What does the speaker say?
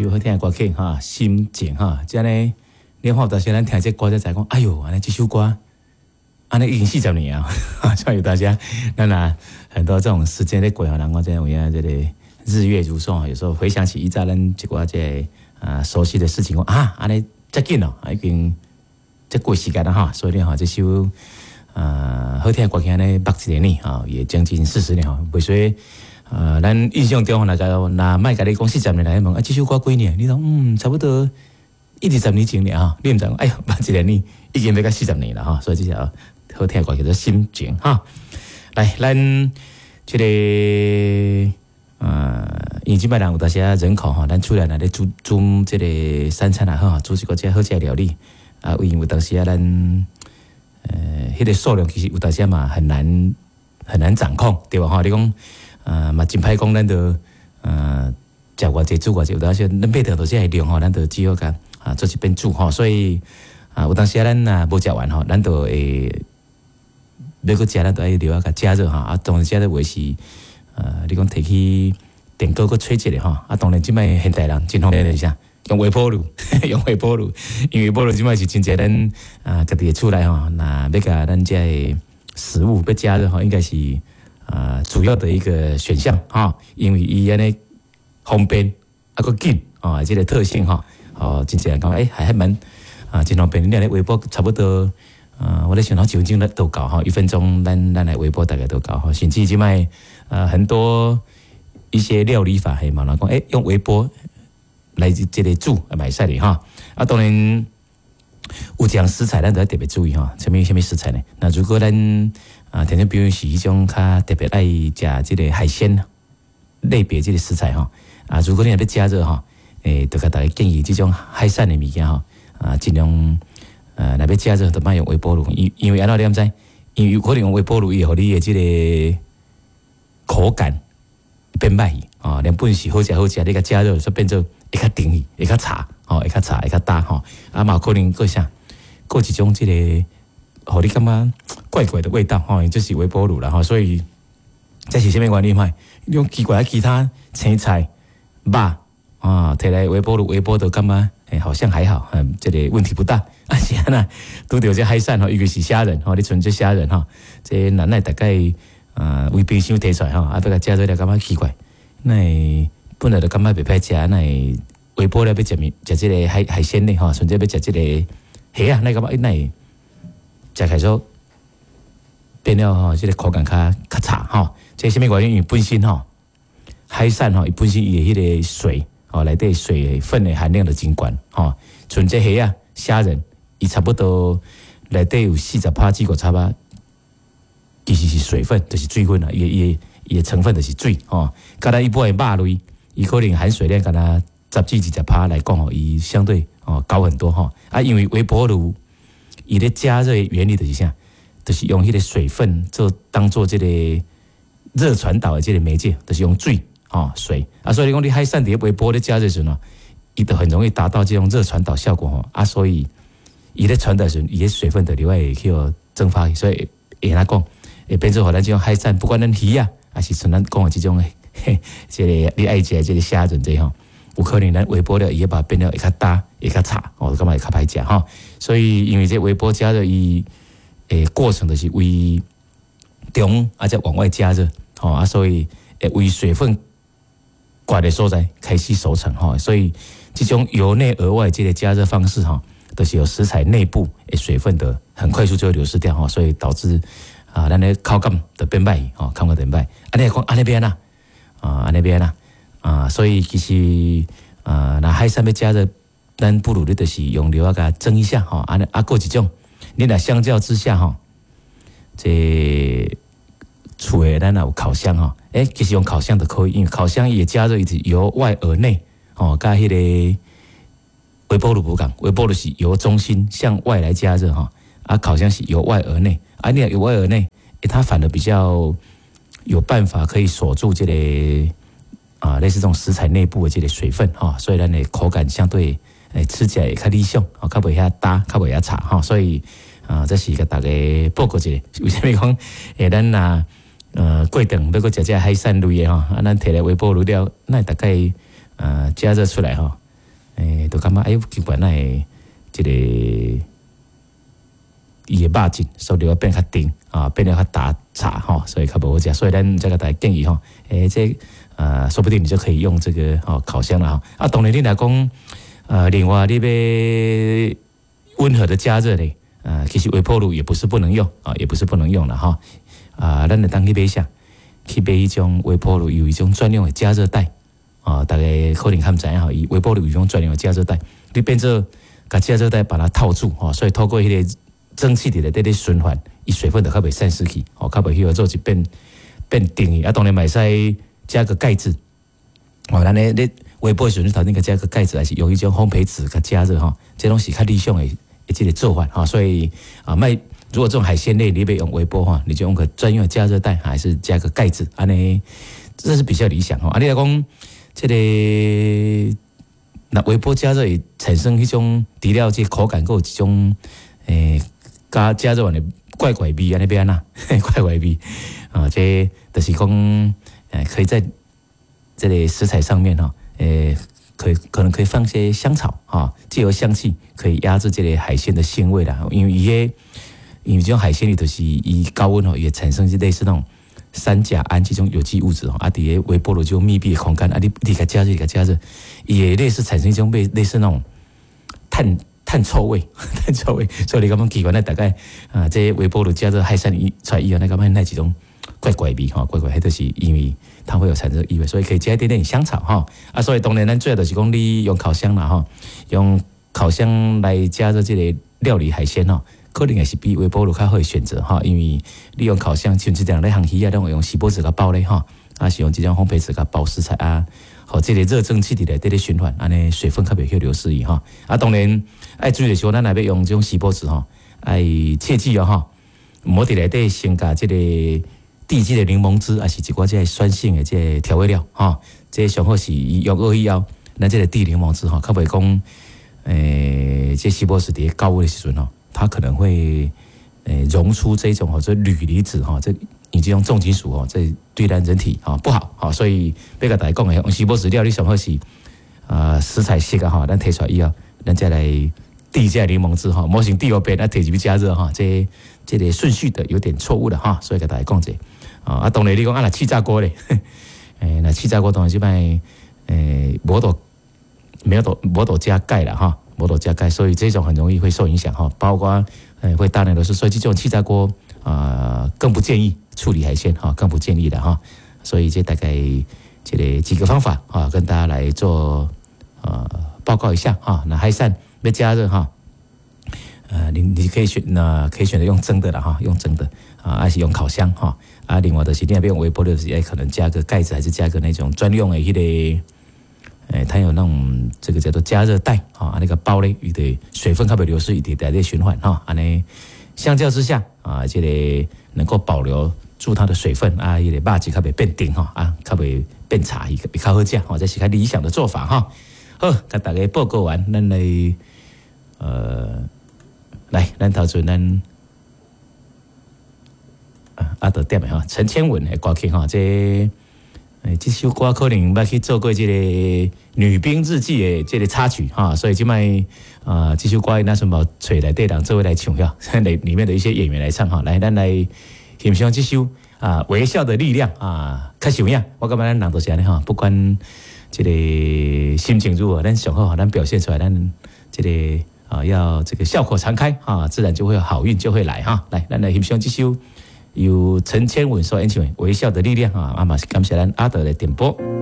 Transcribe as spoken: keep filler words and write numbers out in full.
首好聽的歌曲哈，心情哈，這呢，你看有當時咱聽這歌才知講，哎喲，按呢這首歌，按呢已經四十年啊，所以有當時咱啊很多這種時間咧過吼，人講這有影這個日月如梭，有時候回想起以前咱一寡這個啊熟悉的事情，講啊，按呢遮緊哦，已經這過時間了哈，所以咧吼，這首啊好聽的歌曲按呢捌一个年啊，也將近四十年吼，袂說。呃，咱印象中若若莫共你講四十年來問啊，這首歌幾年？你講嗯，差不多一二十年前了哈。你毋知講，哎喲，捌一个年已經欲到四十年了哈。所以這首好聽的歌叫做《心情》哈。來，咱這個呃，因為這擺人有當時啊人口吼，咱厝內若咧煮煮這個三餐也好，煮一個這好食的料理啊，因為有當時啊，咱呃，彼個數量其實有當時嘛很難很難掌控，對吧？吼，你講。啊，嘛真歹講，咱就呃，食偌濟煮偌濟，有當時咱買著著這个量吼，咱就只好共啊做一遍煮吼。所以啊，有當時啊，咱若無食完吼，咱就會欲閣食，咱就愛留啊共加熱吼。啊，當然加熱話是呃，你講提去電鍋閣吹一下吼。啊，當然這擺現代人真方便的是啥？用微波爐，用微波爐，因為微波爐這擺是真濟咱啊，家己的厝內吼，若欲共咱這个食物欲加熱吼，應該是。啊，主要的一個選項哈，因為伊按呢方便啊，閣緊啊，這個特性哈，哦，真濟人講欸，還還蠻啊，真方便。你按呢微波差不多啊，我咧想講一分鐘都夠哈，一分鐘咱咱來微波大概都夠哈，甚至這擺啊很多一些料理法係嘛，人講欸，用微波來這個煮嘛會使的哈。啊，當然有一項食材咱就愛特別注意哈，啥物啥物食材呢？那如果咱啊，聽眾朋友是彼種較特別愛食這個海鮮類別這個食材吼，啊，如果你若欲加熱吼，欸，就共大家建議這種海產的物件吼，啊，盡量呃，若欲加熱就莫用微波爐，因因為按怎你敢知？因為有可能用微波爐伊會予你的這個口感變歹去，啊，原本是好食好食，你共加熱就變做會較甜去，會較柴，吼，會較柴，會較焦吼，啊嘛有可能閣啥，閣一種這個，予你感覺怪怪的味道，吼，這是微波爐啦，吼，所以這是啥物原因？你講奇怪，其他青菜、肉啊，提來微波爐微波都感覺，欸，好像還好，嗯，這個問題不大。啊是按怎，拄著這海產吼，尤其是蝦仁吼，你像這蝦仁吼，這難耐大概啊，為冰箱提出來吼，啊，欲共加熱了感覺奇怪，哪會本來就感覺袂歹食，哪會微波了欲食物食這個海海鮮類吼，甚至欲食這個蝦啊，哪會感覺哪會食起來說變了吼，這個口感較較差吼。這啥物原因？因為本身吼海產吼，伊本身伊的彼個水吼內底水分的含量就真懸吼，像這蝦啊、蝦仁，伊差不多內底有四十趴至五十趴，其實是水分，就是水分啦，伊的伊的伊的成分就是水吼。佮咱一般的肉類，伊可能含水量敢若十至二十趴來講吼，伊相對哦高很多吼。啊，因為微波爐伊咧加熱的原理就是啥？就是用彼個水分做當做這個熱傳導的這個媒介，就是用水吼水啊，所以你講你海產佇咧微波咧加熱時陣，伊就很容易達到這種熱傳導效果吼啊，所以伊咧傳導時陣，伊的水分就另外會去予蒸發，所以會按怎講，會變做予咱這種海產，不管咱魚啊，還是像咱講的這種嘿，這個你愛食的這個蝦仁這吼，有可能咱微波了，伊會把它變了會較焦，會較柴，哦，感覺會較歹食吼。所以因為這微波加熱伊的過程就是為中啊，再往外加熱，吼啊，所以會為水分懸的所在開始熟成吼，所以這種由內而外這個加熱方式吼，都是有食材內部的水分的很快速就會流失掉吼，所以導致啊，咱的口感就變歹吼，口感變歹。按呢講按呢欲按怎啊，按呢欲按怎啊，所以其實啊，若海產欲加熱，咱不如你就是用料仔共蒸一下吼，按呢啊，閣一種，你若相較之下吼，這厝的咱若有烤箱吼，欸，其實用烤箱就可以，因為烤箱伊加熱伊是由外而內，吼，佮彼個微波爐無仝，微波爐是由中心向外來加熱吼，啊，烤箱是由外而內，啊，你若由外而內，欸，它反而比較有辦法可以鎖住這個啊，類似這種食材內部的這個水分吼，所以咱的口感相對欸吃起來會較理想，吼，較袂遐焦，較袂遐柴吼，所以啊，這是共大家報告一下，為啥物講欸，咱若呃過頓欲閣食這海產類的吼，啊，咱提來微波爐了，那大概呃加熱出來吼，欸，就感覺哎，奇怪，哪會這个伊的肉質所以變較甜啊，變得較大柴吼，所以較無好食。所以咱才共大家建議吼，欸，這呃，說不定你就可以用這個吼烤箱啦。啊，當然你若講呃，另外你欲溫和的加熱咧，呃，其實微波爐也不是不能用啊，也不是不能用啦吼。啊，咱會當去買啥？去買彼種微波爐有一種專用的加熱袋啊，大家可能較毋知影吼，伊微波爐有一種專用的加熱袋，你變做共加熱袋把它套住吼，所以透過彼个蒸汽佇內底咧循環，伊水分就較袂散失去，吼，較袂彼個做一變變定啊，當然嘛會使加個蓋子，哦，咱咧咧微波的時陣，頭先共加個蓋子，還是用彼種烘焙紙共加熱吼，這攏是較理想的這个做法吼，所以啊，莫如果這種海鮮類你欲用微波哈，你就用個專用的加熱袋，還是加個蓋子，按呢，這是比較理想吼。啊，你若講這个若微波加熱會產生彼種除了這口感，閣有一種欸加加熱完的怪怪味，按呢欲按怎？怪怪味啊，這就是講，欸，可以在這个食材上面吼，欸，可以可能可以放些香草啊，藉由香氣可以壓制這个海鮮的腥味啦。因為伊个因為這種海鮮裡頭是伊高溫吼，會產生類似那種三甲胺這種有機物質吼，啊，佇个微波爐這種密閉的空間，啊，你你共加熱，共加熱，伊會類似產生一種類類似那種碳碳臭味，碳臭味，所以你感覺奇怪，那大概啊，這微波爐加熱海鮮一出來以後，那感覺那一種怪怪味吼，怪怪，彼就是因為它會有產生異味，所以可以加一點點香草吼。啊，所以當然咱最後就是講你用烤箱啦吼，用烤箱來加熱這个料理海鮮吼，可能也是比微波爐較好的選擇吼，因為你用烤箱，像這種咧烘魚仔，攏會用錫箔紙共包咧吼，啊是用這種烘焙紙共包食材啊，予這个熱蒸汽佇內底咧循環，按呢水分較袂去流失去吼。啊，當然愛注意的是，咱若欲用這種錫箔紙吼，愛切記哦吼，毋好佇內底先共這个滴這个檸檬汁，抑是一寡這个酸性的這个調味料吼，這上好是伊用好以後，咱這个滴檸檬汁吼，較袂講，欸，這錫箔紙佇高溫的時陣吼，它可能會欸溶出這種吼，這鋁離子吼，這以這種重金屬哦，這對咱人體吼不好，吼，所以欲共大家講的，用錫箔紙料理上好是啊食材熟啊吼，咱提出來以後，咱再來滴這檸檬汁吼，莫先滴予變啊，提入去加熱吼，這這个順序的有點錯誤了哈，所以共大家講者啊，當然你講啊，若氣炸鍋咧，欸，若氣炸鍋當然這擺欸，無法度沒有度無法度加蓋啦哈，無法度加蓋，所以這種很容易會受影響哈，包括欸會大量流失，所以這種氣炸鍋啊更不建議處理海鮮哈，更不建議的哈，所以這大概這个幾個方法啊，跟大家來做呃報告一下哈。那海產欲加熱哈，呃，你你可以選那可以選擇用蒸的啦哈，用蒸的啊，還是用烤箱哈啊。另外就是你若欲用微波爐，是可能加個蓋子，還是加個那種專用的彼个。欸，它有那種這個叫做加熱袋啊，那個包咧，伊的水分較袂流失，伊佇內底循環哈。按呢，相較之下啊，這個能夠保留住它的水分啊，彼個肉質較袂變甜吼啊，較袂變柴，會較好食吼，這是較理想的做法哈。好，共大家報告完，咱來呃，來，咱頭先咱啊阿德點的吼，陳千文的歌曲吼，這。欸，這首歌可能捌去做過這个《女兵日記》的這个插曲哈，所以這擺啊，這首歌咱順便揣內底人做伙來唱哈，裡裡面的一些演員來唱哈，來，咱來欣賞這首啊，微笑的力量啊，較實有影，我感覺咱人都是按呢哈，不管這个心情如何，咱上好咱表現出來，咱這个啊要這個笑口常開啊，自然就會有好運就會來哈。來，咱來欣賞這首由陳千文所演唱的《微笑的力量》啊，啊嘛是感謝咱阿德的點播。